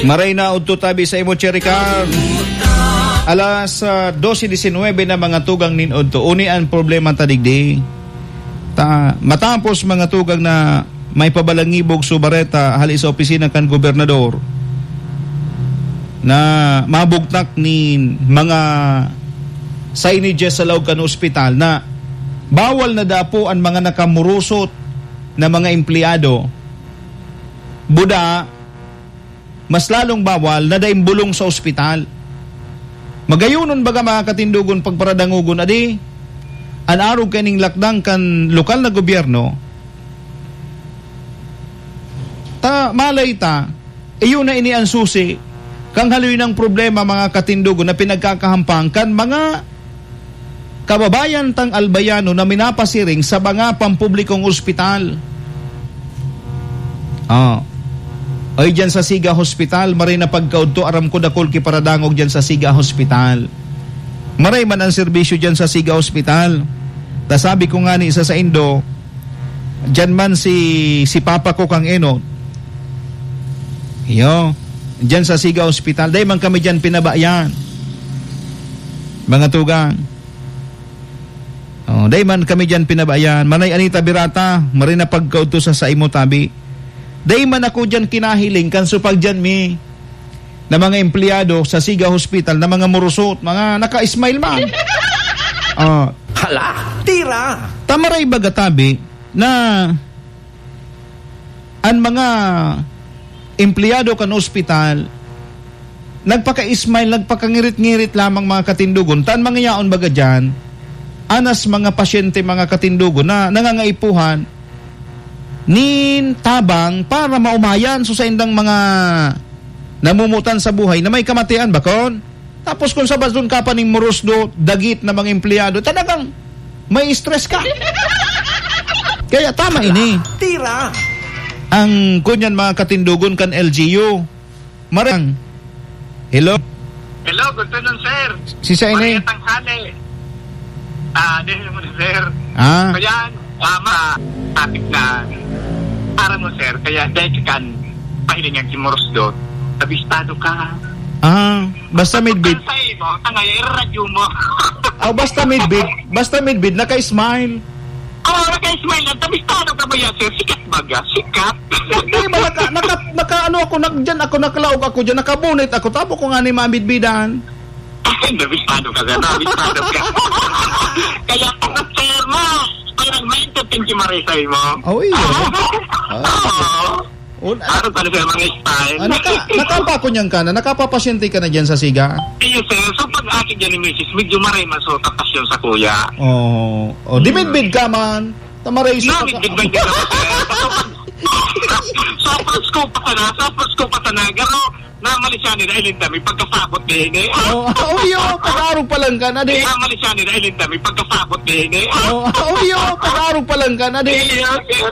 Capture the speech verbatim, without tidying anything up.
Maray na udto tabi sa imo, Cherry Car. Alas, ah, dose diecinuebe na, mga tugang, nin udto. Uni an problema ta digdi. Ta, matapos, mga tugang, na may pabalangibog subareta hali sa opisina kan gobernador na mabugtak nin mga signage sa laog kan ospital na bawal na dapo an mga nakamurusot na mga empleyado. Buda, mas lalong bawal na daing bulong sa ospital. Magayonon baga, mga katindogon, pagparadangogon, adi, an arog kaining lakdang kan lokal na gobyerno, ta malay ta, iyo na ini an susi kan haloy nang problema, mga katindogon, na pinagkakahampang kan mga kababayan tang Albayano na minapasiring sa mga pampublikong ospital. Ah. Oy, dyan sa Siga Hospital, maray na pagkaudto, aram ko dakul ki paradangog dyan sa Siga Hospital. Maray man ang serbisyo dyan sa Siga Hospital. Ta sabi ko ngani sa saindo, dyan man si, si papa ko kang enot. Iyo, dyan sa Siga Hospital. Dai man kami dyan pinabayan. Mga tugang. Oh, dai man kami diyan pinabayan. Manay Anita Birata, maray na pagkaudto sa saimo tabi. Dai man ako diyan kinahiling kan supag diyan mi na mga empleyado sa Siga Hospital na mga murusot, mga naka-smile man. Oh. Hala, tira! Tamaray baga tabi na an mga empleyado kan ospital, nagpaka-smile, nagpakangirit-ngirit lamang, mga katindogon. Ta an mga yaon baga diyan, anas mga pasyente, mga katindogon, na nangangaipuhan nin tabang para maomayan so saindang mga namumutan sa buhay na may kamatian, bakon? Tapos kung sabadon ka pa ning murusdo, dagit na mga empleyado, talagang may stress ka. Kaya tama ini. Tira! Ang kunyan, mga katindogon kan L G U. Marang. Hello? Hello, good afternoon, sir. Si sa ini? Maria Tanghali. Ah, di mo, sir. Ah. Kaya, ah, ma-, topic na, aram mo, sir, kaya dahil ka kan pahilingan si Moros Dot, abistado ka. Ah, basta midbid. Sa imo, tangay, iradyo mo. Oh, basta midbid. Basta midbid, naka-smile. Oh, naka-smile lang. Abistado ka ba yan, sir? Sikat baga? Sikat. Hindi ba, naka, naka, naka, ano ako, nag-, dyan ako, nakalaog ako dyan, nakabunit ako, tabo ko nga ni mamidbidan. Nabistado ka, sir. Nabistado ka. Kaya, sir, mo, parang may entertain si Marisa, eh, mo. Oh, iya. Ah. Oo. Un-, Ano pala, sir, mga style? Ah, naka-, nakapa ko niyan ka na, nakapapasyente ka na dyan sa siga? Iyo, sir. So, pag aki dyan ni misis, medyo maray man, so, tapasyon sa kuya. Oo. Oh, dimidbid ka man. Tamaray sa Namit, pagka- biglang din ako, sir. Sa Pasko pa sana, sa Pasko pa sana, garo, namali siya nila, ilinda, may pagkasabot din, eh. Oh, oh, iyo, pag-arog pa lang ka na, di. Namali siya nila, ilinda, may pagkasabot din, eh. Oh, oh, iyo, pag-arog pa lang ka na, di. Iyo, iyo.